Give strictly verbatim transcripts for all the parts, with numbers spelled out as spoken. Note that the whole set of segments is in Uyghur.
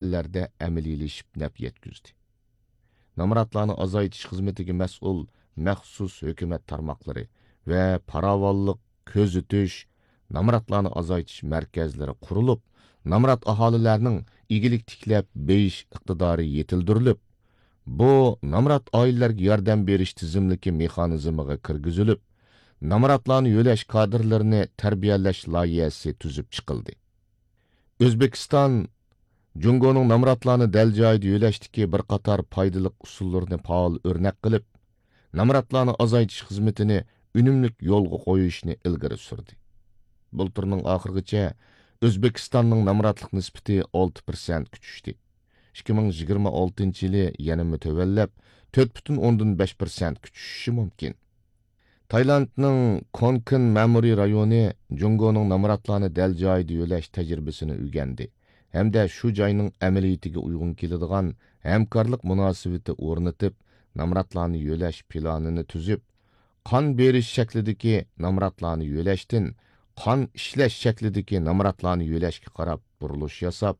ئەللەردە ئەمەلىيلىشىپ نەپ يەتكۈزدى. نامراتلارنى ئازايتىش خىزمىتىگە مەسئۇل مەخسۇس ھۆكۈمەت تارماقلىرى ۋە پاراۋانلىق، كۆزىتىش، نامراتلارنى ئازايتىش مەركەزلىرى قۇرۇلۇپ، نامرات ئاھالىلەرنىڭ ئىگىلىك تىكلەپ بېيىش ئىقتىدارى يېتىلدۈرۈلۈپ، بۇ نامرات ئائىلىلەرگە ياردەم بېرىش تىزىملىكى مېخانىزمىغا كىرگۈزۈلۈپ، نامراتلارنى يۆلەش كادىرلىرىنى تەربىيەلەش لايىھەسى تۈزۈپ چىقىلدى. ئۆزبېكىستان جۇڭگونىڭ نامراتلارنى دەل جايىدا يۆلەشتىكى بىر قاتار پايدىلىق ئۇسۇللىرىنى پائال ئۆرنەك قىلىپ، نامراتلارنى ئازايتىش خىزمىتىنى ئۈنۈملۈك يولغا قويۇشنى ئىلگىرى سۈردى. بۇلتۇرنىڭ ئاخىرىغىچە ئۆزبېكىستاننىڭ نامراتلىق نىسبىتى ئالتە پىرسەنتكە چۈشتى. ئىككى مىڭ يىگىرمە ئالتىنچى يىلى يەنىمۇ تۆۋەنلەپ، تۆت پۈتۈن ئوندىن بەش پىرسەنتكە چۈشۈشى مۇمكىن. تايلاندنىڭ كونكىن مەمۇرىي رايونى جۇڭگونىڭ نامراتلارنى دەل جايىدا يۆلەش تەجرىبىسىنى ئۆگەندى ھەمدە شۇ جاينىڭ ئەمەلىيىتىگە ئۇيغۇن كېلىدىغان ھەمكارلىق مۇناسىۋىتى ئورنىتىپ، نامراتلارنى يۆلەش پىلانىنى تۈزۈپ، قان بېرىش شەكلىدىكى نامراتلارنى يۆلەشتىن قان ئىشلەش شەكلىدىكى نامراتلارنى يۆلەشكە قاراپ بۇرۇلۇش ياساپ،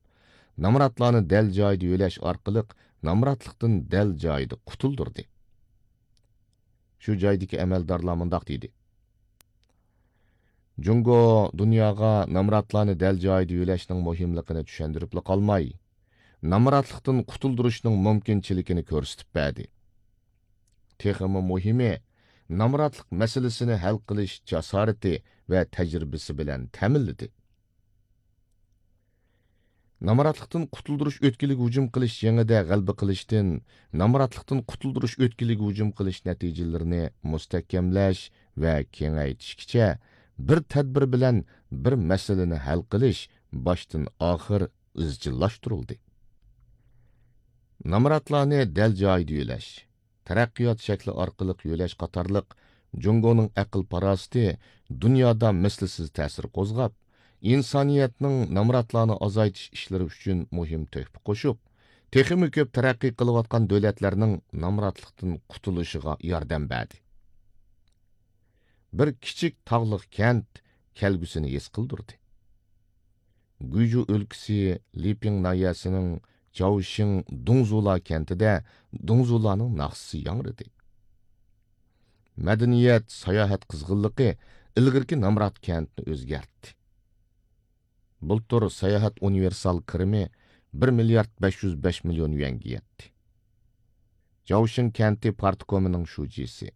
نامراتلارنى دەل جايىدا يۆلەش ئارقىلىق نامراتلىقتىن دەل جايىدا قۇتۇلدۇردى. شۇ جايدىكى ئەمەلدارلار مۇنداق دېدى: جۇڭگو دۇنياغا نامراتلارنى دەل جايىدا يۆلەشنىڭ مۇھىملىقىنى چۈشەندۈرۈپلا قالماي، نامراتلىقتىن قۇتۇلدۇرۇشنىڭ مۇمكىنچىلىكىنى كۆرسىتىپ بەردى. تېخىمۇ مۇھىمى، نامراتلىق مەسىلىسىنى ھەل قىلىش جاسارىتى ۋە تەجرىبىسى بىلەن تەمىنلىدى. نامراتلىقتىن قۇتۇلدۇرۇش ئۆتكىلىگە ھۇجۇم قىلىش جېڭىدە غەلىبە قىلىشتىن، نامراتلىقتىن قۇتۇلدۇرۇش ئۆتكىلىگە ھۇجۇم قىلىش نەتىجىلىرىنى مۇستەھكەملەش ۋە كېڭەيتىشكىچە بىر تەدبىر بىلەن بىر مەسىلىنى ھەل قىلىش باشتىن ئاخىر ئىزچىللاشتۇرۇلدى. نامراتلارنى دەل جايىدا يۆلەش، تەرەققىيات شەكلى ئارقىلىق يۆلەش قاتارلىق جۇڭگونىڭ ئەقىل-پاراسىتى دۇنيادا مىسلىسىز تەسىر قوزغاپ، ئىنسانىيەتنىڭ نامراتلارنى ئازايتىش ئىشلىرى ئۈچۈن مۇھىم تۆھپە قوشۇپ، تېخىمۇ كۆپ تەرەققىي قىلىۋاتقان دۆلەتلەرنىڭ نامراتلىقتىن قۇتۇلۇشىغا ياردەم بەردى. بىر كىچىك تاغلىق كەنت كەلگۈسىنى ھېس قىلدۇردى. گۇيجۇ ئۆلكىسى لىپىڭ ناھىيەسىنىڭ جاۋشىڭ دۇڭزۇلا كەنتىدە دۇڭزۇلانىڭ ناخشىسى ياڭرىدى. مەدەنىيەت، ساياھەت قىزغىنلىقى ئىلگىرىكى نامرات كەنتنى ئۆزگەرتتى. بۇلتۇر ساياھەت ئۇنىۋېرسال كىرىمى بىر مىليارد بەش يۈز بەش مىليون يۈەنگە يەتتى. جاۋشىڭ كەنتى پارتكومىنىڭ شۇجىسى،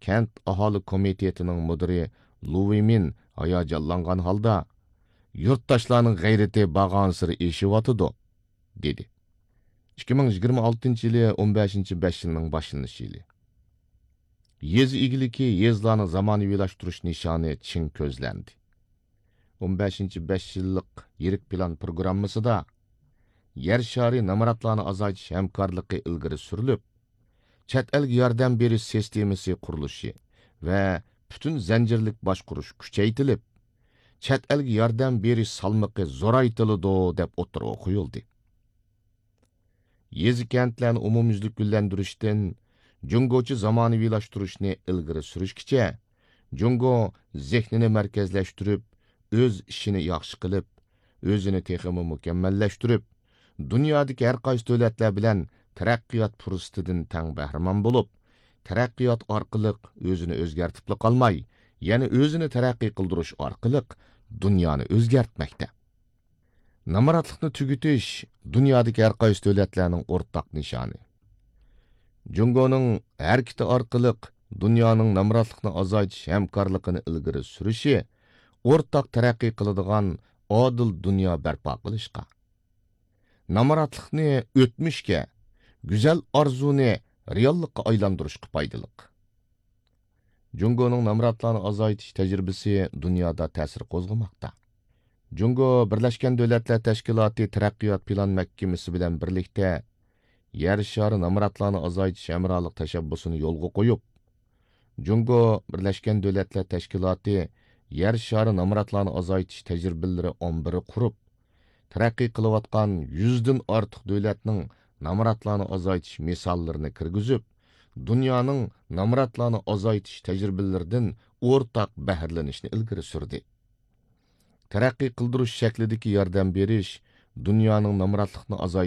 كەنت ئاھالە كومىتېتىنىڭ مۇدىرى لۇ ۋېيمىن ھاياجانلانغان ھالدا، يۇرتداشلارنىڭ غەيرىتى بارغانسېرى ئېشىۋاتىدۇ، دېدى. ئىككى مىڭ يىگىرمە ئالتىنچى يىلى ئون بەشىنچى بەش يىلنىڭ باشلىنىش يىلى. يېزا ئىگىلىكى، يېزىلارنى زامانىۋىلاشتۇرۇش نىشانى چىڭ كۆزلەندى. ئون بەشىنچى بەش يىللىق يىرىك پىلان پروگراممىسىدا يەر شارى نامراتلارنى ئازايتىش ھەمكارلىقى ئىلگىرى سۈرۈلۈپ، چەت ئەلگە ياردەم بېرىش سىستېمىسى قۇرۇلۇشى ۋە پۈتۈن زەنجىرلىك باشقۇرۇش كۈچەيتىلىپ، چەت ئەلگە ياردەم بېرىش سالمىقى زورايتىلىدۇ، دەپ ئوتتۇرىغا قويۇلدى. يېزا-كەنتلەرنى ئومۇميۈزلۈك گۈللەندۈرۈشتىن جۇڭگوچە زامانىۋىلاشتۇرۇشنى ئىلگىرى سۈرۈشكىچە، جۇڭگو زېھنىنى مەركەزلەشتۈرۈپ، ئۆز ئىشىنى ياخشى قىلىپ، ئۆزىنى تېخىمۇ مۇكەممەللەشتۈرۈپ، دۇنيادىكى ھەرقايسى دۆلەتلەر بىلەن تەرەققىيات پۇرسىتىدىن تەڭ بەھرىمەن بولۇپ، تەرەققىيات ئارقىلىق ئۆزىنى ئۆزگەرتىپلا قالماي، يەنە ئۆزىنى تەرەققىي قىلدۇرۇش ئارقىلىق دۇنيانى ئۆزگەرتمەكتە. نامراتلىقنى تۈگىتىش دۇنيادىكى ھەرقايسى دۆلەتلەرنىڭ ئورتاق نىشانى. جۇڭگونىڭ ھەرىكىتى ئارقىلىق دۇنيانىڭ نامراتلىقنى ئازايتىش ھەمكارلىقىنى ئىلگىرى سۈرۈشى ئورتاق تەرەققىي قىلىدىغان ئادىل دۇنيا بەرپا قىلىشقا، نامراتلىقنى ئۆتمۈشكە، گۈزەل ئارزۇنى رېئاللىققا ئايلاندۇرۇشقا پايدىلىق. جۇڭگونىڭ نامراتلارنى ئازايتىش تەجرىبىسى دۇنيادا تەسىر قوزغىماقتا. جۇڭگو بىرلەشكەن دۆلەتلەر تەشكىلاتى تەرەققىيات پىلان مەھكىمىسى بىلەن بىرلىكتە يەر شارى نامراتلارنى ئازايتىش ھەمراھلىق تەشەببۇسىنى يولغا قويۇپ، جۇڭگو بىرلەشكەن دۆلەتلەر تەشكىلاتى يەر شارى نامراتلارنى ئازايتىش تەجرىبىلىرى ئامبىرى قۇرۇپ، تەرەققىي قىلىۋاتقان يۈزدىن ئارتۇق دۆلەتنىڭ نامراتلارنى ئازايتىش مىساللىرىنى كىرگۈزۈپ، دۇنيانىڭ نامراتلارنى ئازايتىش تەجرىبىلىرىدىن ئورتاق بەھرىلىنىشنى ئىلگىرى سۈردى. تەرەققىي قىلدۇرۇش شەكلىدىكى ياردەم بېرىش دۇنيانىڭ نامراتلىقنى ئازايتىش